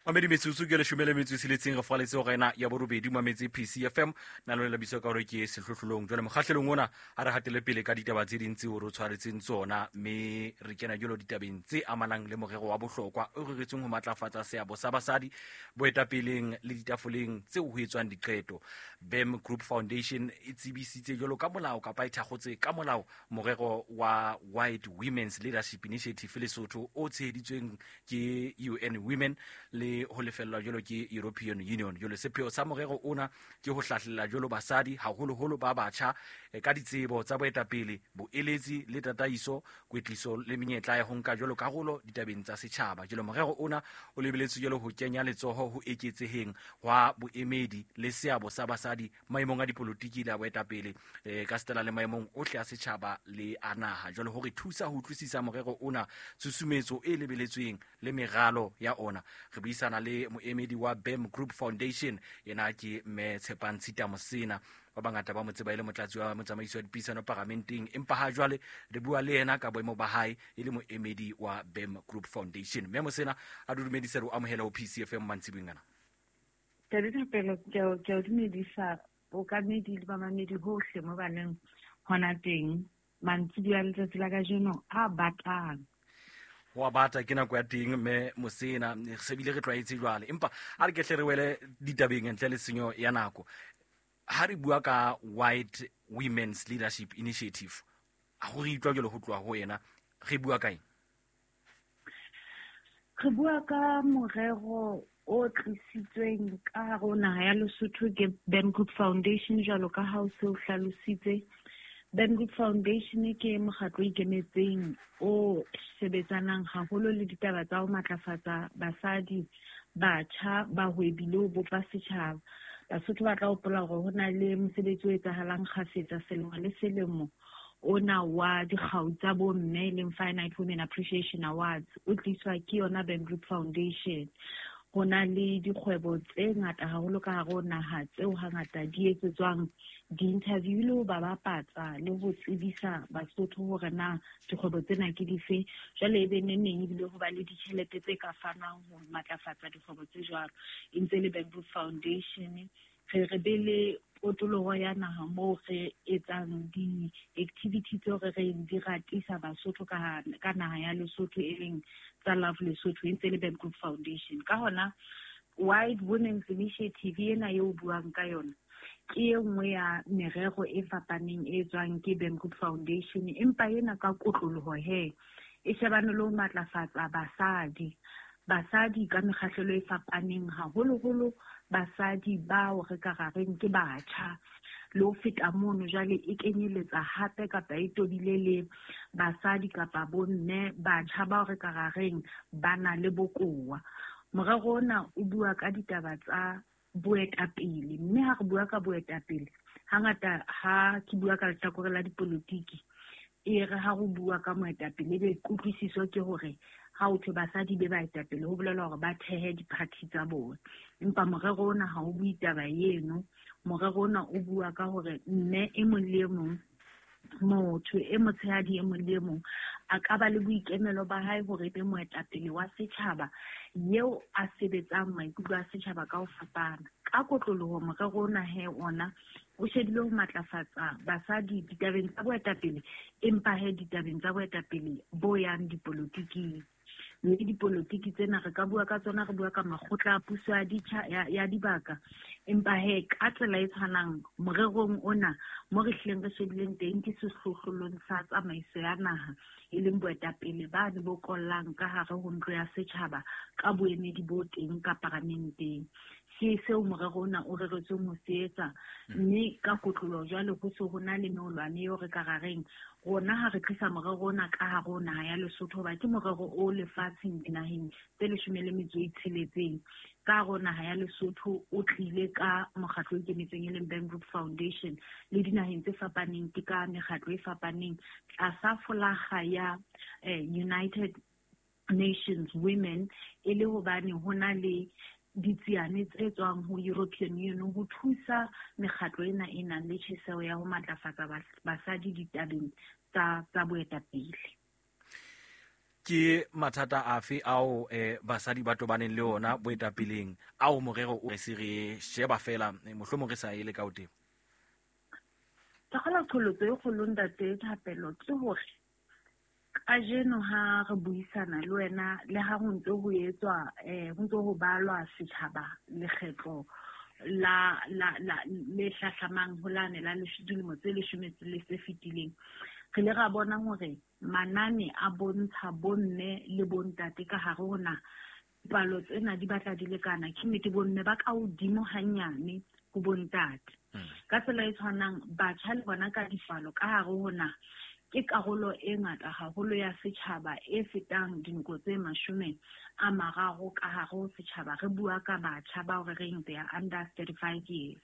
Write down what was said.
Mamedi metsotso ke 17 re faletse hora ena ya borobedi mametse PCFM na lone la bitso ka hore ke sehlohlolong. Jwale mokgahlelong ona a re hatele pele ka ditaba tse ding tseo re tshwaretseng tsona, mme re kena jalo ditabeng tse amanang le morero wa bohlokwa o reretsweng ho matlafatsa seabo sa basadi boetapeleng le ditafoleng tseo ho etswang diqeto. BAM Group Foundation e tsebisitse jalo ka molao kapa e thakgotse ka molao morero wa White Women's Leadership Initiative Lesotho o tsheheditsweng ke UN Women le ho lefellwa jwalo ke European Union. Jwalo sepheo sa morero ona ke ho hlahlela jwalo basadi haholoholo ba batjha ka ditsebo tsa boetapele, boeletsi le tataiso, kwetliso le menyetla ya ho nka jwalo karolo ditabeng tsa setjhaba. Jwalo morero ona o lebeletswe jwalo ho kenya letsoho ho eketseheng hwa boemedi le seabo sa basadi maemong a dipolotiki le a boetapele ka setela le maemong ohle a setjhaba le a naha. Jwale ho re thusa ho utlwisisa morero ona, tshusumetso e lebeletsweng le meralo ya ona, re buisana le moemedi wa BAM Group Foundation, yena ke Mme Tshepang Tshita Mosena. Ba bangata ba mo tseba e le motlatsi wa motsamaisi wa dipuisano paramenteng, empa ha jwale re bua le yena ka boemo ba hae e le moemedi wa BAM Group Foundation. Mme Mosena, a dumedise re o amohela ho PCFM mantsiboeng ana. Ntate Thapelo, ke a o dumedisa bokamedi le bamamedi hohle mo ba leng hona teng. Mantsiboya a letsatsi la kajeno a batang. Ho a bata, ke nako ya teng mme Mosena, re se bile re tlwaetse jwale. Empa a re ke hle re wele ditabeng ntle le tshenyo ya nako. Ha re bua ka White Women's Leadership Initiative, ha go re utlwa jalo ho tloha ho yena, re bua ka eng? Re bua ka morero o tlisitsweng ka hare ho naha ya Lesotho ke BAM Group Foundation, jwalo ka ha o se o hlalositse. BAM Group Foundation ke mokgatlo o ikemetseng o sebetsanang haholo le ditaba tsa ho matlafatsa basadi, batjha, bahwebi le ho bopa setjhaba. Basotho ba tla hopola hore ho na le mosebetsi o etsahalang kgafetsa selemo le selemo ona wa dikgau tsa bomme, e leng Finite Women Appreciation Awards, o tliswa ke yona BAM Group Foundation. Ho na le dikgwebo tse ngata haholo ka hare ho naha tseo hangata di etsetswang di-interview le ho ba bapatsa le ho tsebisa Basotho hore na dikgwebo tsena ke dife. Jwale e be neng ebile ho ba le ditjhelete tse ka fanwang ho matlafatsa dikgwebo tse jwalo. E ntse le BAM Group Foundation. Re re be le potoloho ya naha moo re etsang di-activity tseo re reng di ratisa Basotho ka naha ya Lesotho, e leng tsa Love Lesotho, e ntse le BAM Group Foundation. Ka hona Wide Women's Initiative ena eo buang ka yona ke e nngwe ya merero e fapaneng e tswang ke BAM Group Foundation, empa ena ka kotloloho he e shebane le ho matlafatsa basadi. Basadi ka mekgahlelo e fapaneng, haholoholo basadi bao re ka ra reng ke batjha. Le ho feta mono jwale e kenyeletsa hape kapa e tobile le basadi kapa bomme batjha bao re ka ra reng ba na le bokowa. Morero ona o bua ka ditaba tsa boetapele, mme ha re bua ka boetapele hangata ha ke bua ka lehlakore la dipolotiki, e re ha re bua ka moetapele ebe kutlwisiso ke hore ha o thwe basadi be baetapele ho bolelwa hore ba thehe di-party tsa bona. Empa morero ona ha o bue taba eno. Morero ona o bua ka hore mme e mong le e mong, motho e motshehadi e mong le e mong a ka ba le boikemelo ba hae hore e be moetapele wa setjhaba eo a sebetsang maikutlo a setjhaba ka ho fapana. Ka kotloloho morero ona he ona o shebile ho matlafatsa basadi ditabeng tsa boetapele, empa he ditabeng tsa boetapele bo yang dipolotiking. Mme dipolotiki tsena re ka bua ka tsona, re bua ka makgotla a puso ya ditjha, ya dibaka, empa he ka tsela e tshwanang morerong ona mo re hlileng re shebileng teng ke sehlohlolong sa tsamaiso ya naha, e leng boetapele bane bo kollang ka hare ho ntlo ya setjhaba ka boemedi bo teng ka paramenteng. Ke seo morero ona o reretsweng ho se etsa, mme ka kotlolo jwale ho se ho na le meolwane eo re ka ra reng rona ha re tlisa morero ona ka hare ho naha ya Lesotho, hoba ke morero o lefatsheng dinaheng tse 16. Ka hare ho naha ya Lesotho o tlile ka mokgatlo o ikemetseng e leng BAM Group Foundation, le dinaheng tse fapaneng ke ka mekgatlo e fapaneng tlasa folaga ya United Nations Women, e le hobane ho na le ditsiane tse tswang ho European Union ho thusa mekgatlo ena e nang le tjheseho ya ho matlafatsa basadi ditabeng tsa boetapele. Ke mathata afe ao basadi ba tobaneng le ona boetapeleng ao morero o re se re sheba fela, mohlomong re sa ele ka ho teng? Ke kgolwa qholotso e kgolo, ntate Thapelo, ke hore kajeno ha re buisana le wena, le ha ho ntse ho etswa, ho ntse ho balwa setjhaba lekgetlo la la la le hlahlamang ho lane la dilemo tse 10 le tse fetileng, re ile ra bona hore manane a bontsha bomme le bontate ka hare ho naha, palo tsena di batla di lekana. Ke nnete bomme ba ka hodimo hanyane ho bontate. Ka tsela e tshwanang, batjha le bona ka dipalo ka hare ho naha ke karolo e ngata haholo ya setjhaba e fetang dinoko tse 30 ka hare ho setjhaba. Re bua ka batjha bao re reng they are under 35 years.